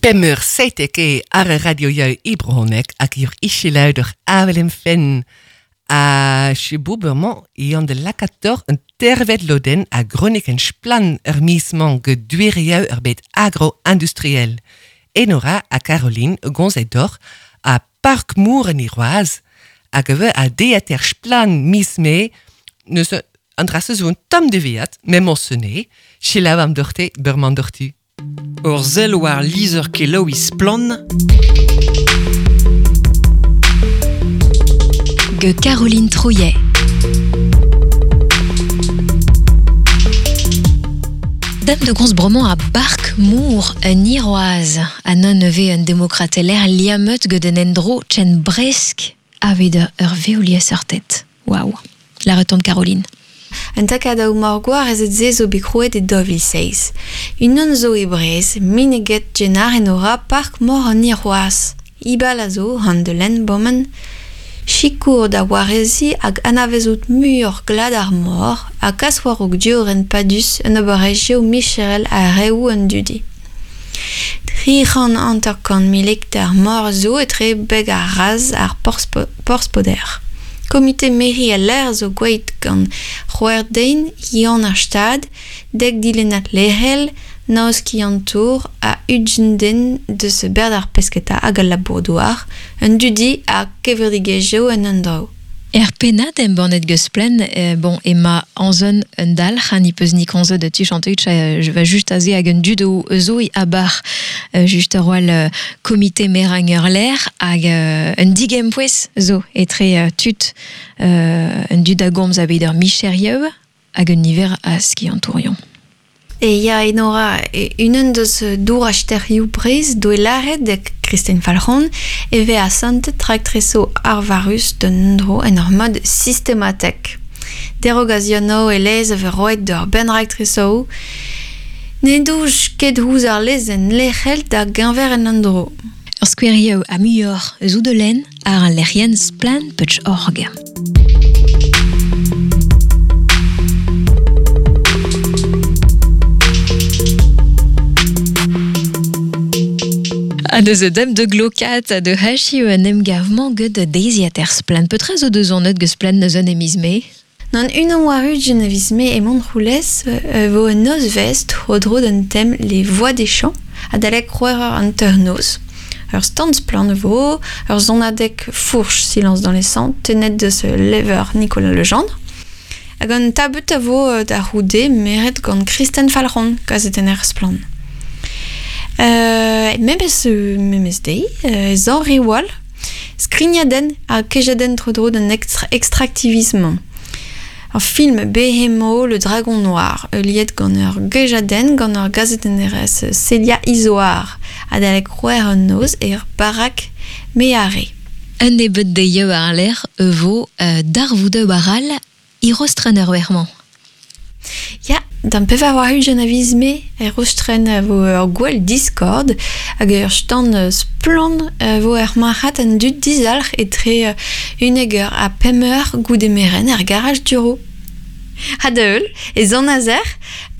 Pemeur 7 e ar radio jou Ibronek hag ur icheluider avelem fen. A chebouberman e an de lakator un tervet loden a gronik en splan ur misman ge duerieu ur bet agro-industriel. Enora a Caroline gonzet a Park Moor en Iroaz hag we a deater splan misme neus an drasse zo un tam de viat, mem on selaou am dorte berman dortu. Ur zel war lizer kelaou splan. Ge Caroline Trouillet. Dame de gons bromant a Bark Moor un Iroaz a non neve un demokrateler liameut gant un endro chen bresk aved ur veolier tête. Waouh. La retombe Caroline. Un takad a morgoar ez et ze zo bet krouet e dovil seiz. Unan zo e brez, mineget genar en ora park mor an Iroaz. Ibal a zo, han de len bommen, Chikour da warezi hag anavezout muioc'h glad ar mor ha kas war o dioren padus un oberezhioù micherel a reoù an dudi. Tri c'hant hanter-kant mil hektar mor zo etre beg ar raz ar porzh-poder. Komite meri al l'air zo gweit gant c'hwec'h yann ar stad, dek dilennad lec'hel, naoz tour a ugent den deus berd ar pesketa hag al labour-douar, un dudi ha kevredigezhioù en un dro. Er pennad embannet geus plen, bon, ema anzon un dalc'h, an peus ni konzo de tu chanteut, je va just aze hag un dud o zo i abar, just ar roal komite merang ur l'air, hag un digempoez zo, etre tut, un dud a gomz a bet ur micherieu, hag un niver a skiantourion. E ya enora unan deus dour asterioù brez do e laret de Christine Falc'hon e ve a santet traktreso arvarus d'un dro en ur mod systematek. Derogaziono e lez a ve roet d'ur ben raktreso ne douj ket houz ar lez en lec'hel da genver en an dro. Ur skouerioù a muioc'h eus de len ar an lec'hien splan pech org. A deus dem de glokat de hachi un emgavman gant de deiziater splan. Petra zo deus an geus splan neus an emizme? Nan unan war ugent a viz me e Montroulez vo un nozvez tro dro d'un tem les voix des champs adalek c'hwec'h an noz. Ur stand splan vo, ur zonadek fourche silence dans les sangs, tenet deus lever Nicolas Legendre. Hag an tabut a vo da roude meret gant Kristen Falc'hon kazetenner splan. Memes deiz, zan riwal, skrignadenn ha kejadenn tro-dro d'un extractivisme. Ur film Behemo, le dragon noir, liet gant ur gejadenn gant ur gazetennerez Celia Izoar, adalek c'hwec'h an noz er barak meare. Un nebeud deioù ar l'air vo darvoudeu aral irostren ur wermañ. Ya, d'an pevar war ugent a viz me er rostren vo ur gwell Discord hag ur stand splan vo er marc'had an dud dizalc'h etre uneg eur ha pemp eur goude merenn er garaj duro. Ha da heul, e zan azer,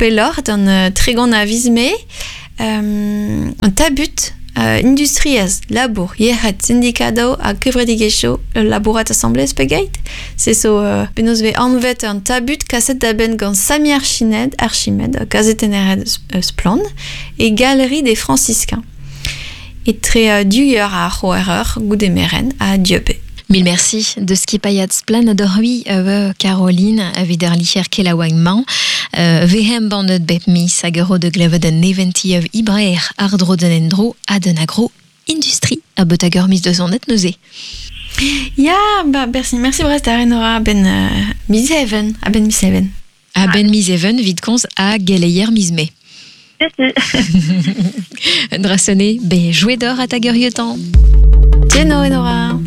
pelloc'h d'an tregont a viz me, an tabut industriez, labour, yec'hed, syndikado ha kevredigezhioù labourat asamblez pegeit. Se zo penaos ve anvet an tabut kaset da benn gant Sami Archimed, Archimed kazetenner splan, e galerie des Franciscains. Etre du eur ha c'hwec'h eur goude merenn ha dieube. Mil merci de skipayat splan adorui Caroline evit ar licher kelaouagn mañ. Vehem bandet bep mis hag ur de glevet an eventiev ibrer ar dro den endro ha den agro industrie a beut hag ur mis deus an et neuze. Ya, ba, merci, merci Brest ar enora ben miz even, a ben miz even. A ben miz even vit komz a geleier miz me. Drasone, be jouet d'or a tag ur yotan. Tieno, Enora.